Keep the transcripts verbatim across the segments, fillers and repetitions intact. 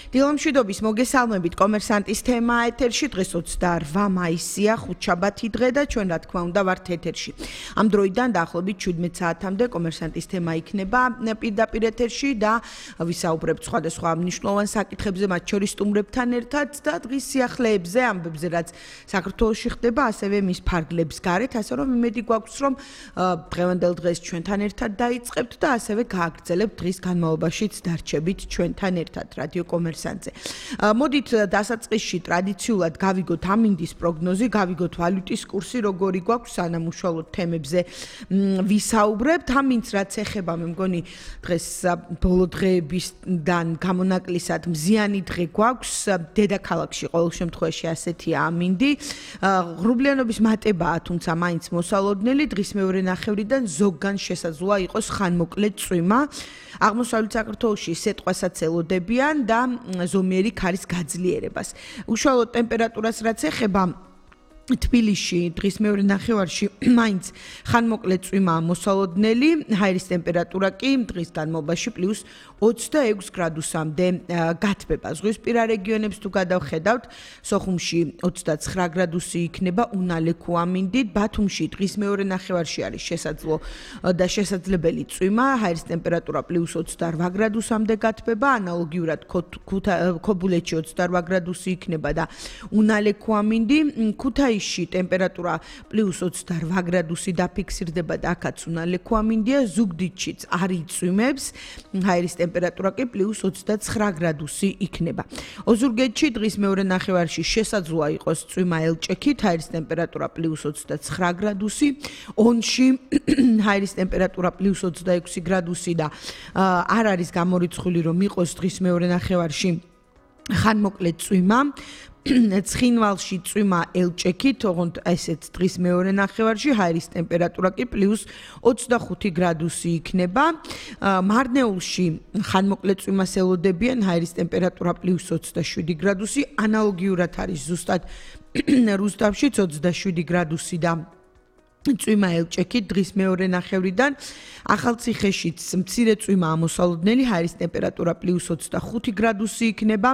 დილომშვიდობის მოგესალმებით კომერსანტის თემა ეთერში დღეს ოცდაორ მაისია ხუთშაბათი დღე და ჩვენ რა თქმა უნდა ვართ ეთერში. Ამ დროიდან დაახლოებით შვიდმეტ საათამდე კომერსანტის თემა იქნება პირდაპირ ეთერში და ვისაუბრებთ სხვადასხვა მნიშვნელოვან საკითხებზე, მათ შორის სტუმრებთან ერთად და დღის სიახლეებზე, ამბებზე, რაც საქართველოში ხდება, ასევე მის ფარგლებს გარეთ, ასე რომ იმედი გვაქვს, რომ დღევანდელ დღეს ჩვენთან ერთად დაიწყებთ და ასევე გააგრძელებთ დღის განმავლობაშიც დარჩებით ჩვენთან ერთად რადიო კომერსანტზე. მოდით დასაწყისში ტრადიციულად გავიგოთ ამინდის პროგნოზი, გავიგოთ ვალუტის კურსი, როგორი გვაქვს, სანამ უშუალოდ თემებზე ვისაუბრებთ. ამინდს რაც ეხება, მე მგონი დღეს ბოლო დღეებისგან გამონაკლისად მზიანი დღე გვაქვს. დედაქალაქში ყოველ შემთხვევაში ასეთია ამინდი. ღრუბლიანობის მატებაა, თუმცა მაინც მოსალოდნელი, დღის მეორე ნახევრიდან ზოგგან შესაძლოა იყოს ხანმოკლე წვიმა. აღმოსავლეთ საქართველოში სიტყვასაც ელოდებიან და ზომიერი ქარის გაძლიერებას. უშუალოდ ტემპერატურას რაც ეხება თბილისში დღის მეორე ნახევარში მაინც ხანმოკლე წვიმაა მოსალოდნელი, ჰაერის ტემპერატურა კი დღის განმავლობაში პლუს ოცდაექვს გრადუსამდე გათბება. ზღვისპირა რეგიონებს თუ გადავხედავთ, სოხუმში ოცდაცხრა გრადუსი იქნება უნალექო ამინდით, ბათუმში დღის მეორე ნახევარში არის შესაძლო და შესაძლებელი წვიმა, ჰაერის ტემპერატურა პლუს ოცდაორ გრადუსამდე გათბება, ანალოგიურად ქობულეთში ოცდაორ გრადუსი იქნება და უნალექო ამინდი, ქუთაისში ტემპერატურა პლუს ოცდაორ გრადუსი დაფიქსირდება და აქაც უნალექო ამინდია, ზუგდიდშიც არ იწვიმებს, ჰაერის ტემპერატურა კი პლუს ოცდაცხრა გრადუსი იქნება. ოზურგეთში დღის მეორე ნახევარში შესაძლოა იყოს წვიმა ელჭექით, ჰაერის ტემპერატურა პლუს ოცდაცხრა გრადუსი, ონში ჰაერის ტემპერატურა პლუს ოცდაექვსი გრადუსი და არ არის გამორიცხული რომ იყოს დღის მეორე ნახევარში ხანმოკლე წვიმა. ცხინვალში წვიმა ელჭექით, ოღონდ ესეც დღის მეორე ნახევარში, ჰაერის ტემპერატურა კი პლუს ოცდახუთი გრადუსი იქნება. მარნეულში ხანმოკლე წვიმას ელოდებიან, ჰაერის ტემპერატურა პლუს ოცდაშვიდი გრადუსი, ანალოგიურად არის ზუსტად რუსთავშიც ოცდაშვიდი გრადუსი და წვიმა ელჭექით დღის მეორე ნახევრიდან. ახალციხეშიც მცირე წვიმაა მოსალოდნელი, ჰაერის ტემპერატურა პლუს ოცდახუთი გრადუსი იქნება.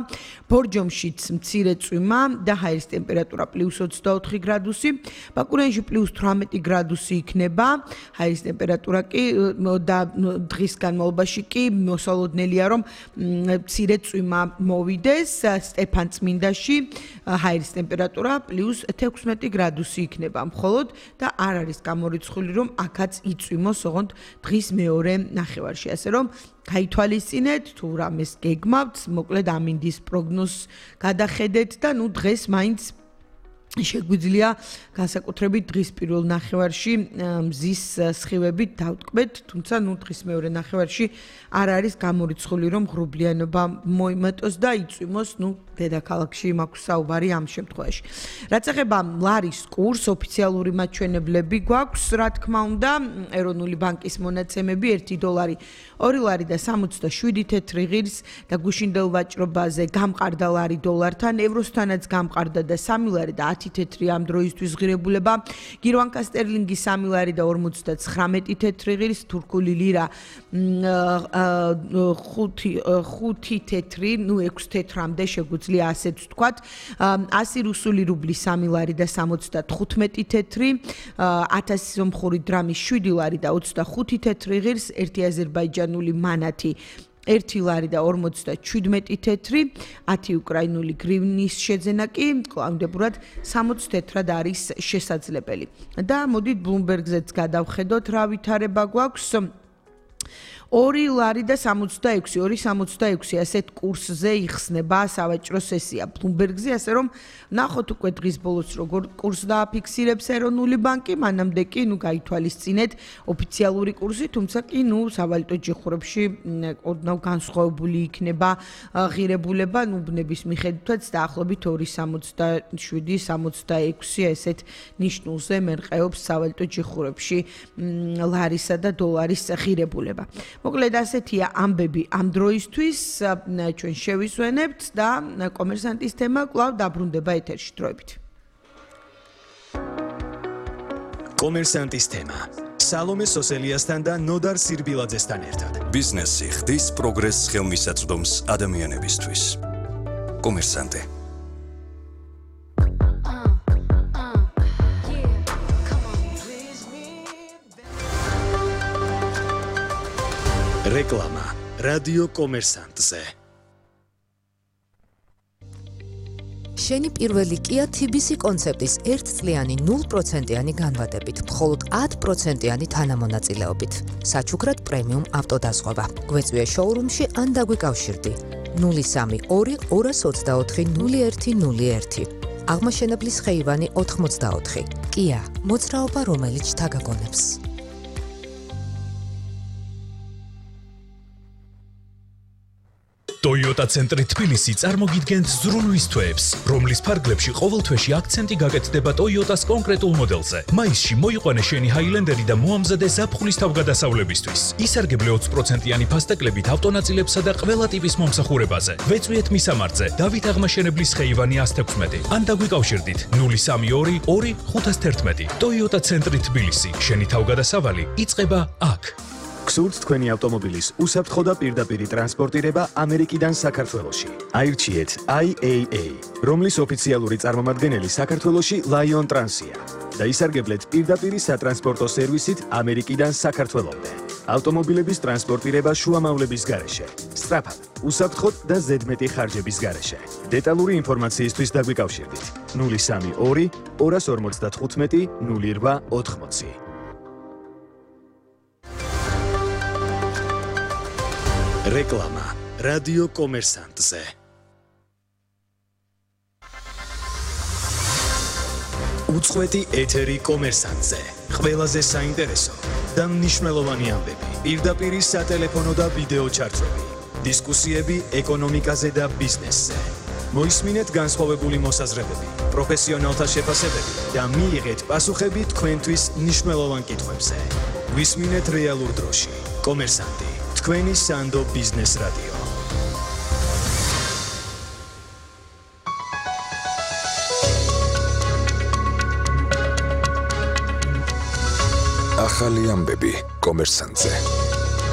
ბორჯომშიც მცირე წვიმა და ჰაერის ტემპერატურა პლუს ოცდაოთხი გრადუსი. ბაკურიანში პლუს თვრამეტი გრადუსი იქნება. ჰაერის ტემპერატურა კი და დღის განმავლობაში კი მოსალოდნელია, რომ მცირე წვიმა მოვიდეს. სტეფანწმინდაში ჰაერის ტემპერატურა პლუს თექვსმეტი გრადუსი იქნება. მხოლოდ და არ არის გამორიცხული რომ აქაც იწვიმოს, ოღონდ დღის მეორე ნახევარში, ასე რომ გაითვალისწინეთ თუ რამეს გეგმავთ, მოკლედ ამინდის პროგნოზს გადახედეთ და ნუ დღეს მაინც შეგვიძლია განსაკუთრებით დღის პირველ ნახევარში მზის სხივებით დავტკბეთ, თუმცა ნუ დღის მეორე ნახევარში არ არის გამორიცხული რომ ღრუბლიანობა მოიმატოს და იწვიმოს, ნუ დედაქალაქში მაქვს საუბარი ამ შემთხვევაში. რაც ეხება ლარის კურსს, ოფიციალური მაჩვენებლები გვაქვს, რა თქმა უნდა, ეროვნული ბანკის მონაცემები ერთი დოლარი ორი ლარი და სამოცდაშვიდი თეთრი ღირს და გუშინდელ ვაჭრობაზე გამყარდა ლარი დოლართან, ევროსთანაც გამყარდა და სამი ლარი და ათი თეთრი ამ დროისთვის ღირებულება, გირვანკა სტერლინგი სამი ლარი და ორმოცდაცხრამეტი თეთრი ღირს, თურქული ლირა ხუთი თეთრი, ნუ ექვს თეთრამდე შეგვიძლია ასეც ვთქვათ, ასი რუსული რუბლი სამი ლარი და სამოცდათხუთმეტი თეთრი, ათასი სომხური დრამი შვიდი ლარი და ოცდახუთი თეთრი ღირს, ერთი აზერბაიჯანული მანათი ერთი ლარი და ორმოცდაჩვიდმეტი თეთრი, ათი უკრაინული გრივნის შეძენა კი კლავდებურად სამოცი თეთრად არის შესაძლებელი. და მოდით ბლუმბერგზეც გადავხედოთ რა ვითარება გვაქვს. ორი ლარი და სამოცდაექვსი, ორი სამოცდაექვსი ასეთ კურსზე იხსნება სავაჭრო სესია ბლუმბერგზე, ასე რომ ნახოთ უკვე დღის ბოლოს როგორ კურსს დააფიქსირებს ეროვნული ბანკი, მანამდე კი ნუ გაითვალისწინეთ ოფიციალური კურსი, თუმცა კი ნუ სავალუტო ჯიხურებში ოდნავ განსხვავებული იქნება ღირებულება, ნუ ბნების მიხედვითაც დაახლოებით ორი სამოცდაშვიდი სამოცდაექვსი ესეთ ნიშნულზე მერყეობს სავალუტო ჯიხურებში ლარისა და დოლარის ღირებულება. მოკლედ ასეთია ამბები ამ დროისთვის, ჩვენ შევისვენებთ და კომერსანტის თემა კვლავ დაბრუნდება ეთერში დროებით. კომერსანტის თემა. სალომე სოსელიასთან და ნოდარ სირბილაძესთან ერთად. ბიზნესი ხდის პროგრესს ხელმისაწვდომს ადამიანებისთვის. კომერსანტე. რეკლამა რადიო კომერსანტზე. შენი პირველი Kia T B C კონცეპტის ერთწლიანი ნულ პროცენტიანი განვადებით, მხოლოდ ათი პროცენტიანი თანამონაწილეობით. საჩუქრად პრემიუმ ავტოდაზღვევა. გვეწვიე შოურუმში ან დაგვიკავშირდი. ნული სამი ორი ორას ოცდაოთხი ნული ერთი ნული ერთი. აღმაშენებლის ხეივანი ოთხმოცდაოთხი. Kia, მოძრაობა რომელიც შთაგაგონებს. Toyota ცენტრი თბილისი წარმოგიდგენთ ზრუნვის თვეებს, რომლის ფარგლებში ყოველ თვეში აქცენტი გაკეთდება Toyota-ს კონკრეტულ მოდელზე. მაისში მოიყვანე შენი Highlander და მოამზადე ზაფხულის თავგადასავლებისთვის. ისარგებლე ოცი პროცენტიანი ფასტეკლებით ავტონაწილებსა და ყველა ტიპის მომსახურებაზე. ვეწვიეთ მისამართზე დავით აღმაშენებლის ხეივანი one sixteen ან დაგვიკავშირდით ნული სამი ორი ორი ხუთას თერთმეტი. Toyota ცენტრი თბილისი, შენი თავგადასავალი იწყება აქ. გსურთ თქვენი ავტომობილის უსაფრთხო და პირდაპირი ტრანსპორტირება ამერიკიდან საქართველოში. აირჩიეთ I A A, რომლის ოფიციალური წარმომადგენელი საქართველოში Lion Trans-ია და ისარგებლეთ პირდაპირი სატრანსპორტო სერვისით ამერიკიდან საქართველომდე. ავტომობილების ტრანსპორტირება შუამავლების გარეშე, სწრაფად, უსაფრთხოდ და ზედმეტი ხარჯების გარეშე. დეტალური ინფორმაციისთვის დაგვიკავშირდით ნული სამი ორი ორას ორმოცდათხუთმეტი ნული რვა ოთხმოცი. რეკლამა რადიო კომერსანტზე. უწყვეტი ეთერი კომერსანტზე. ყველაზე საინტერესო და მნიშვნელოვანი ამბები. პირდაპირი სატელეფონო და ვიდეო ჩარტები. დისკუსიები ეკონომიკაზე და ბიზნესზე. მოისმინეთ განსხვავებული მოსაზრებები, პროფესიონალთა შეფასებები და მიიღეთ პასუხები თქვენთვის მნიშვნელოვან კითხვებზე. ვისმინეთ რეალურ დროში. კომერსანტი, თქვენი სანდო ბიზნეს რადიო. ახალი ამბები კომერსანტზე.